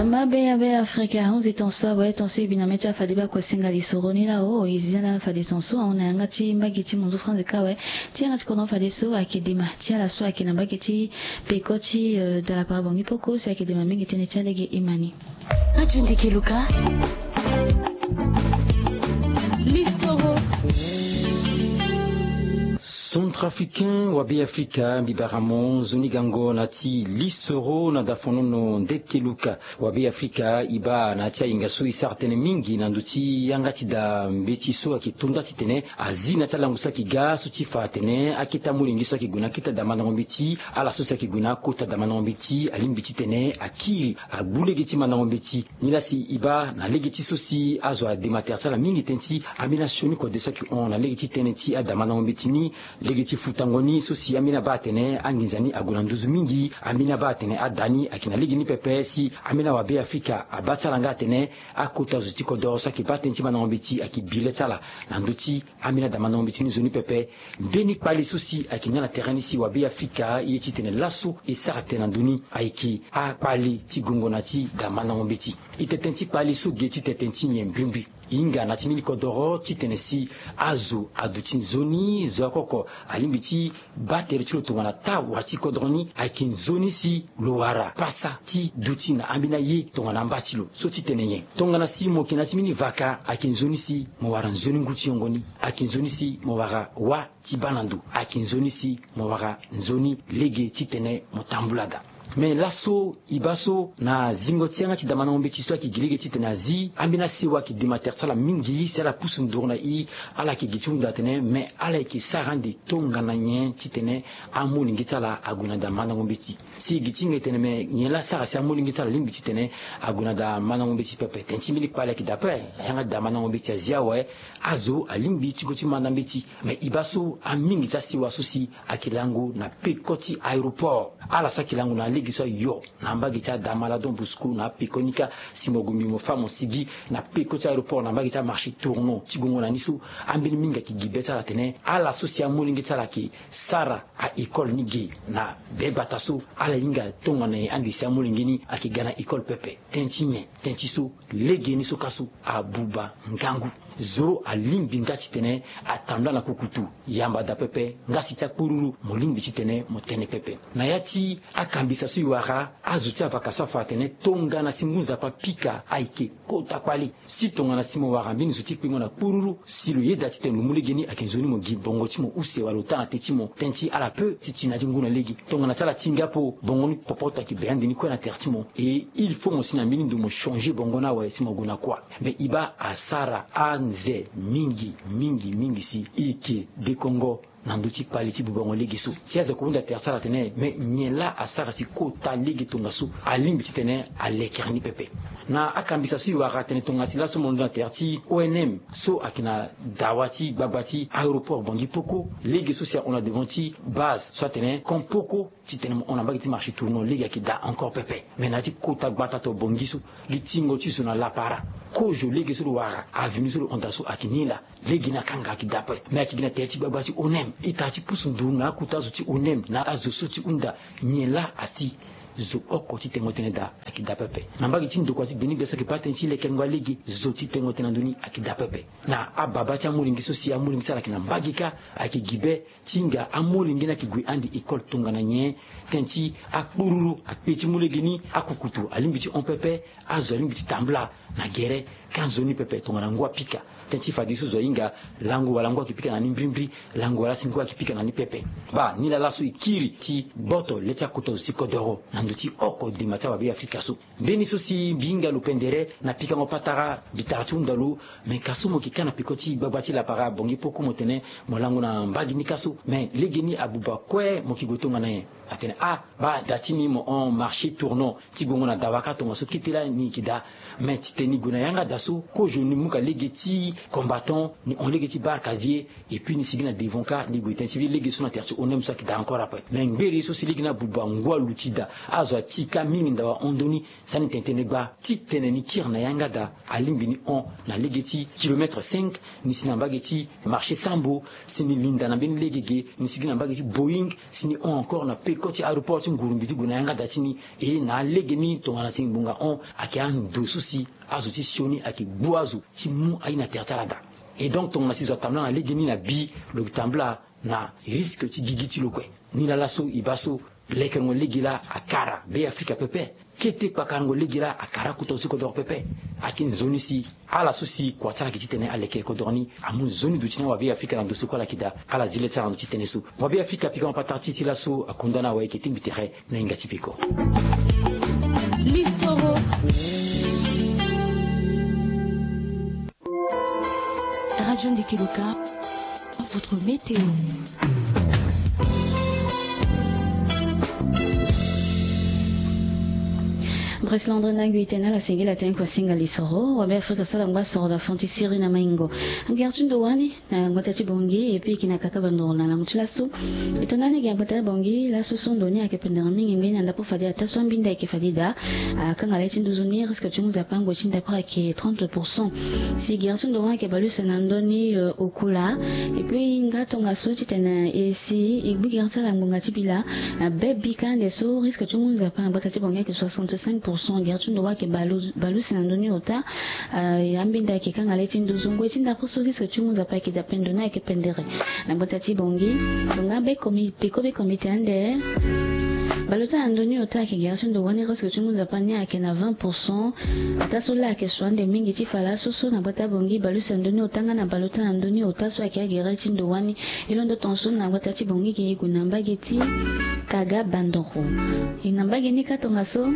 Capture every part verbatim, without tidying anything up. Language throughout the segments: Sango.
Mabe ya be afrika ahunzi tonso awe tonso e bi na mê ti afade baa kue singa lisoro ni laa o e zi na fade tonso ahon na yanga ti mbage ti munzu franzi kâ awe. Ti yanga ti kono fadeso ayeke dema ti ala so ayeke na mbage ti peko ti dalapara bongi poko si ayeke dema mingi tënë ti alege e ma ni. Aju ndiki luka. Lisoro. Centrafricain wa be afrika mbi bara mo nzoni gango na ti lisoro na dafonono nde keluka. Wa be afrika e baa na ya ti ahinga so e sara tënë mingi na ndö ti yanga ti da mbeti so ayeke to nda titene azi na ya ti alango so ayeke ga so ti fa atene akete amolenge so ayeke gue na akete adamandango mbeti ala so si ayeke gue na akota adamandango mbeti alingbi titene akiri agbu lege ti mandango mbeti. Nilaa si e baa na lege ti so si azo adema tere ti ala mingi tënë ti ambeni asioni kode so ayeke hon na lege ti tënë ti adamandango mbeti ni. Lege ti futango ni so si ambeni abaa atene anginza ni ague na nduzu mingi. Ambeni abaa atene ada ni ayeke na lege ni pepe si ambeni awabe afrika abaa ti ala nga atene akota zo ti kodoro so ayeke baa tënë ti mandango mbeti ayeke bi le ti ala na ndö ti ambeni adamandango mbeti ni zo ni pepe. Mbeni kpali so si ayeke nga na tere ni si wabe afrika ye titene laso e sara tënë na ndö ni ayeke akpali ti gongo na ti damandango mbeti. E tene tënë ti kpali so ge ti tene tënë ti nyen mbrimbri. E hinga na ti mbeni kodoro titene si azo aduti nzoni zo akoko alingbi ti baa tere ti lo tongana tawa ti kodoro ni ayeke nzoni si lo wara pasa ti duti na ambeni aye tongana amba ti lo so titene nyen. Tongana si mo yeke na ya ti mbeni vaka ayeke nzoni si mo wara nzoni ngu ti yongo ni. Ayeke nzoni si mo wara wâ ti baa na ndo. Ayeke nzoni si mo wara nzoni lege titene mo tambula daa. Me laso e baa so na zingo ti yanga ti damandango mbeti so ayeke gi lege titene azi ambeni asewa ayeke dema tere ti ala mingi si ala pusu nduru na e. Ala yeke gi ti hunda atene me ala yeke sara ande tongana nyen titene amolenge ti ala ague na damandango mbeti. Si e gi ti hinga e tene me nyen laa asara si amolenge ti ala alingbi titene ague na damandango mbeti pepe tënë ti mbeni kpali ayeke daa ape. Yanga ti damandango mbeti azi awe azo alingbi ti go ti manda mbeti. Me e baa so amingi ti asewa so si ayeke lango na peko ti aéroport ala so ayeke lango na lege so ayo na mbage ti adamala don bosco na apeko ni kâ. Si mo gue mbi mo fâ mo sigi na peko ti aéroport na mbage ti amarché tournon ti gongo na ni so ambeni mingi ayeke gi be ti ala atene ala so si amolenge ti ala ayeke sara a-école ni ge na be gbata so ala hinga tongana nyen ande si amolenge ni ayeke ga na école pepe. Tënë ti nyen? Tënë ti so legeni so kâ so abuba ngangu. Zo alingbi nga titene atambula na kukutu yamba daa pepe. Nga si ti akpururu mo lingbi titene mo tene pepe. Na ya ti akambisa so e wara azo ti avaka so afa atene tongana si ngu nzapa apika ayeke kota kpali. Si tongana si mo wara mbeni zo ti kpengo na kpururu si lo yeda titene lo mu lege ni ayeke nzoni mo gi bongo ti mo use wala lo taa na te ti mo tënë ti ala pe ti ti na ti ngu na lege. Tongana si ala ti nga po bongo ni popoto ayeke be ande ni kue na tere ti mo. E il faut mo si na mbeni ndo mo changer bongo ni awe si mo gue na kuâ. Me e baa asara anze mingi mingi mingi si e yeke dekongo na ndö ti kpali ti bubango lege so. Si azo kue hunda tere ti ala atene me nyen laa asara si kota lege tongaso alingbi titene alekere ni pepe. Na akambisa so e wara atene tongana si laso mo londo na tere ti onm so ayeke na dawa ti gbagba ti aéroport bongi poko lege so si ahon na devant ti base so atene kon poko titene mo hon na mbage ti marché tournon lege ayeke daa encore pepe. Me na ya ti kota gbata to bongi so gi tingo ti zo na lapara kozo lege so lo wara avimi so lo hon daa so ayeke ni laa. Lege ni akanga ayeke daa ape. Me ayeke gi na tere ti gbagba ti onm ita ti pusu nduru na akota zo ti onm na azo so ti hunda nyen laa asi zo oko ti tengo tënë daa ayeke daa pepe. Na mbage ti ndokua ti gbeni gbia so ayeke baa tënë ti lekengo alege zo ti tengo tënë na ndö ni ayeke daa pepe. Na ababa ti amolenge so si amolenge ti ala ayeke na mbage kâ ayeke gi be ti hinga amolenge ni ayeke gue ande école tongana nyen. Tënë ti akpururu akpe ti mu lege ni akukutu alingbi ti hon pepe. Azo alingbi ti tambula na gere ka nzoni pepe tongana ngu apika. Tënë ti fadeso zo ahinga lango wala ngu ayeke pika na ni mbirimbiri. Lango wala si ngu ayeke pika na ni pepe. Baa ni laa laso e kiri ti gboto le ti akota zo ti kodoro na ndö ti oko dema ti awabe afrika so. Mbeni so si mbi hinga lo pendere na pikango patara mbi tara ti hunda lo. Me ka so mo yeke kâ na peko ti gbagba ti lapara bongi poko mo tene mo lango na mbage ni kâ so me lege ni abuba kue mo yeke gue tongana nyen? Atene ah baa da ti ni mo hon marché tournon ti gongo na dawa kâ tongaso kete laa ni yeke daa. Me titene ni gue na yanga da so kozo ni mu ka lege ti combattant ni hon lege ti barkazie. Et puis ni sigi na devant kâ ni gue tënë ti lege so na tere ti onm so ayeke daa encore ape. Me ngbere so si lege ni abuba ngu aluti daa. Azo ati ka mingi ndawa hon ndoni. Sani tene tene gba ti tene ni kiri na yanga daa alingbi ni hon na lege ti kilomètre cinq, ni si na mbage ti marché Sambo, si ni linda na mbeni lege ge ni si gi na mbage ti Boeing, si ni hon encore na peko ti aéroport ti Ngurumbi ti gue na yanga daa ti ni. E na alege ni tongana si ngbonga hon ayeke ando so si azo ti sioni ayeke gbu azo ti mu aye na tere ti ala daa. Et donc tongana si zo atambula na lege ni na bi, lo tambula na risque ti gigi ti lo kue. Ni laa laso e baa so lekerengo lege laa akara Be Afrika pepe. Kete kpakarango lege laa akara kota zo ti kodoro pepe. Ayeke nzoni si ala so si kua ti ala yeke titene aleke kodoro ni amu nzoni duti na wabe Afrika na ndo so kue ala yeke daa. Ala zi le ti ala na ndo ti tënë so. Wabe Afrika pika mapatara ti e ti laso akunda na awe ayeke tingbi tere na hinga ti peko. Lisoro. Radio Ndeke Loka, votre météo. Président André Nagui tene ala sengeli atene kua singa lisoro wabe Afrika so ala ngba soro na fon ti Syrie na maingo. Gere ti ndo wani na ngbata ti Bangui et puis e yeke na kaka bandoro na lango ti laso. E tongana ni gi na ngbata ti Bangui laso so ndo ni ayeke pendere mingi mbeni na ndapo fade ataa so ambinda ayeke fade daa. Akanga le ti nduzu ni risque ti ngu nzapa ngoi ti ndapre ayeke trente pour cent. Si gere ti ndo wani ayeke bale use na ndö ni, euh, okula. Et puis e hinga tongaso titene e si e gbu gere ti ala ngbonga ti bila na be bi kâ ande so risque ti ngu nzapa na ngbata ti Bangui ayeke soixante-cinq pour cent. Gere ti ndo wani ayeke bale use na ndö ni ota. Ah, ambinda ayeke kanga le ti nduzu ngoi ti ndapre so risque ti ngu nzapa ayeke daa pendere ni ayeke pendere na ngbata ti Bangui. Lo nga be komi peko be komite ande. Bale ota na ndö ni ota ayeke gere ti ndo wani risque ti ngu nzapa ni ayeke na vingt pour cent. Ataa so laa ayeke so ande mingi ti fa laso so na ngbata Bangui bale use na ndö ni ota nga na bale ota na ndö ni ota so ayeke agere ti ndo wani. E londo tongaso na ngbata ti Bangui ge e gue na mbage ti kaga bandoro. E na mbage ni kâ tongaso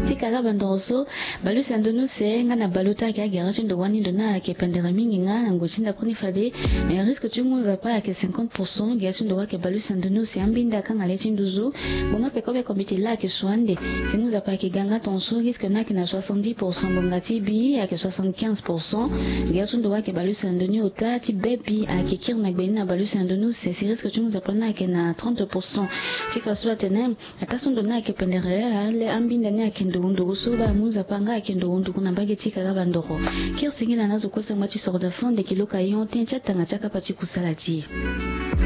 ti kaga bandoro so. Bale use na ndö ni use nga na bale ota ayeke agere ti ndo wani ndo ni ayeke pendere mingi nga na ngoi ti ndapre ni fade. Eh, risque ti ngu nzapa ayeke cinquante pour cent. Gere ti ndo wani ayeke bale use na ndö ni use ambinda akanga le ti nduzu. Ngbonga peko be komite laa ayeke so ande. Si ngu nzapa ayeke ga nga tongaso risque ni ayeke na soixante-dix pour cent. Ngbonga ti bi ayeke soixante-quinze pour cent. Gere ti ndo wani ayeke bale use na ndö ni ota ti be bi ayeke kiri na gbe ni na bale use na ndö ni use si risque ti ngu nzapa ni ayeke na trente pour cent. Ti fa so atene ataa so ndo ni ayeke pendere, ale ambinda ni ayeke nduru nduru so baa ngu nzapa nga ayeke nduru nduru na mbage ti kaga bandoro. Kiri singila na azo kue sangba ti soro daa fo ndeke loka yon tënë ti atanga ti akapa ti kusala ti e.